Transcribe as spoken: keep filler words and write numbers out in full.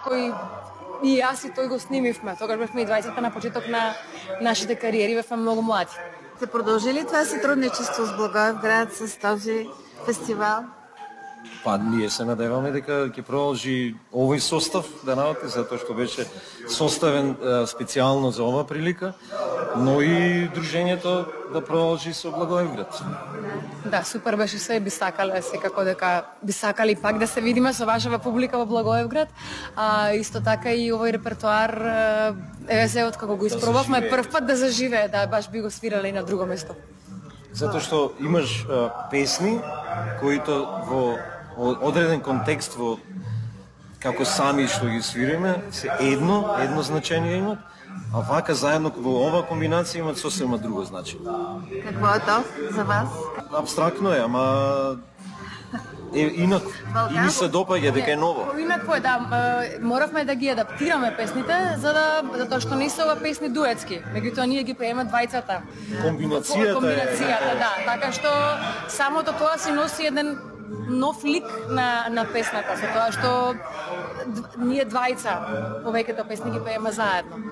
кој и јас и тој го снимивме. Тогаш бевме и двајцата на почеток на нашите кариери, бевме многу млади. Се продолжи ли това сотрудничество с Благоевград, с този фестивал? Па ние се надеваме дека ќе продолжи овој состав да работи, затоа што беше составен специјално за ова прилика, но и дружењето да продолжи со Благоевград. Да, супер беше се, би сакале секако дека би сакали пак да се видиме со вашава публика во Благоевград, а исто така и овој репертоар еве се откако го испробавме да прв пат да заживее, да баш би го свирале и на друго место. Затоа што имаш а, песни кои во одреден контекст во како сами што ги свириме се едно, едно значење имат, а вака заедно во ова комбинација имат сосема друго значење. Какво е то за вас? Абстрактно е, ама е инако. И ми се допаѓа дека е ново. Инако е, да, моравме да ги адаптираме песните, за да затоа што не се ова песни дуетски, меѓутоа ние ги пееме двајцата. Комбинацијата, Комбинацијата е. Да, така што самото тоа си носи еден нов лик на на песната, со тоа што ние двајца повеќето песни ги пееме заедно.